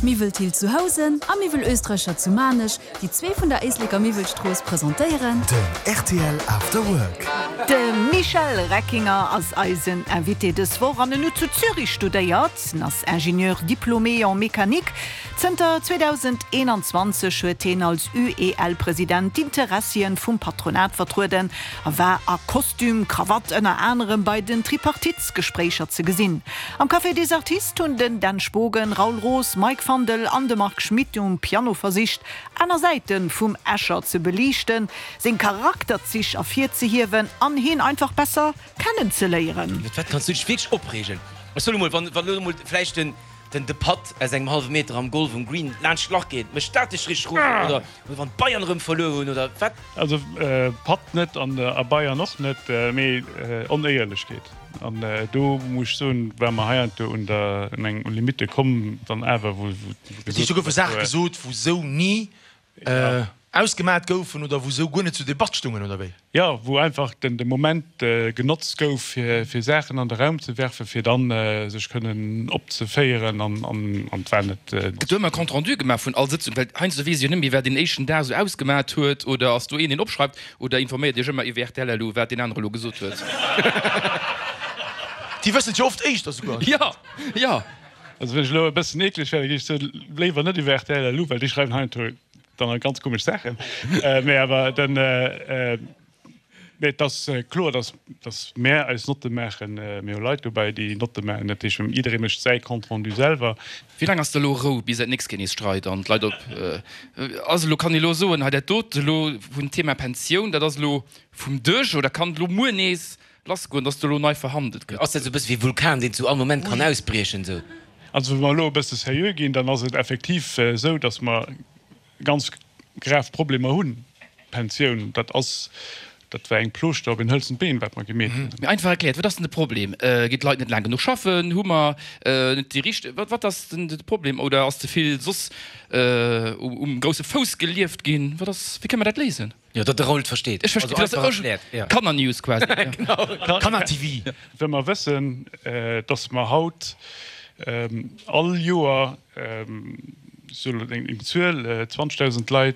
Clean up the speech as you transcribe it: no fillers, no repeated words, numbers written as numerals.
Miwwel Thill zu Housen a Miwwel Österreicher zu Maarnech, déi zwee vun der Éisleker Miwwelstrooss, presentéieren. Den rtl After Work. De Michel Reckinger ass eisen Invité dës Woch an en huet zu Zürich studéiert. En ass Ingénieur diplômé en mécanique. Zënter 2021 huet hien als UEL-President d'Interessien vum Patronat vertrueden a war a Kostüm, Krawatt ënner anerem bei den Tripartitesgespréicher ze gesinn. Am Café des Artistes hunn den Dan Spogen, Raoul Roos, Mike Fandel an de Marc Schmitt um Piano versicht, aner Säite vum Escher ze beliichten, seng Charakterzich ervirzehiewen an hien einfach besser kennenzeléieren. Iwwer wat kanns du dech wierklech opreegen? Ech soen emol, wann elo emol vläicht den de Putt aus engem hallwe Meter am Golf um Green laanscht d'Lach geet, mécht dat dech richteg rosen? Oder wann d'Bayern erëm verluer hunn oder wat? Also Putt net an a Bayern och net, mee Onéierlechkeet. An do muss ech soen, war mer heiansdo un der un eng Limite komm dann awer, wou Dat heescht, do goufe Saache gesot, wou sou ni ausgemat goufen oder wou sou guer net zur Debatt stungen, oder wéi? Jo, wou einfach den de Moment genotzt gouf, fir fir Saachen an de Raum ze werfen, fir dann sech kënnen opzeféieren an an an et war net. Gëtt do ëmmer e Compte rendu gemaach vun all Sëtzung? Well heiansdo weess ech jo net méi, wat een éischten Dag esou ausgemat huet. Oder ass do een, deen opschreift? Oder informéiert Iech ëmmer iwwer rtl elo, wat deen anere elo gesot huet? Déi wëssen et jo oft éischter souguer. Jo, jo. Also wann ech elo e bëssen eekleg wär, da géif ech soen, léiwer net iwwer rtl elo, well déi schreiwen heiansdo dann ganz komesch Saachen. Mee awer den, mee et ass kloer, dass, dass mär eis Notte maachen. Mir hu Leit dobäi, déi Notte maachen. Dat heescht, jidderee mécht säi Compte rendu selwer. Wéi laang ass da elo Rou, bis et nächst Kéier nees streit an d'Leit op ass? Elo kann ee elo soen, hei dat dote elo vum Thema Pensioun, dat ass elo vum Dësch oder kann elo muer nees lassgoen, dass do elo nei verhandelt gëtt? Ass dat esou e bësse wéi e Vulkan, deen zu all Moment kann ausbriechen esou? Also wa mer elo e bësse seriö ginn, dann ass et effektiv esou, dass mer ganz grav Problemer hunn. D'Pensioun, dat ass, dat war eng Plooschter op een hëlzent Been, wat mer gemeet hunn. Mee einfach erkläert, wat ass denn de Problem? Ginn d'Leit net laang genuch schaffen? Hu mer net déi richteg, wat, wat ass denn de Problem? Oder ass ze vill soss um grousse Fouss gelieft ginn? Wat ass, wéi kënne mer dat léisen? Jo, datt de Raoul et versteet. Ech verstinn, also einfach erkläert, jo. Kanner-News quasi. Genau, Kanner-TV. Wa mer wëssen, datt mer haut all Joer, ech soen elo eng Zuel, 20.000 Leit.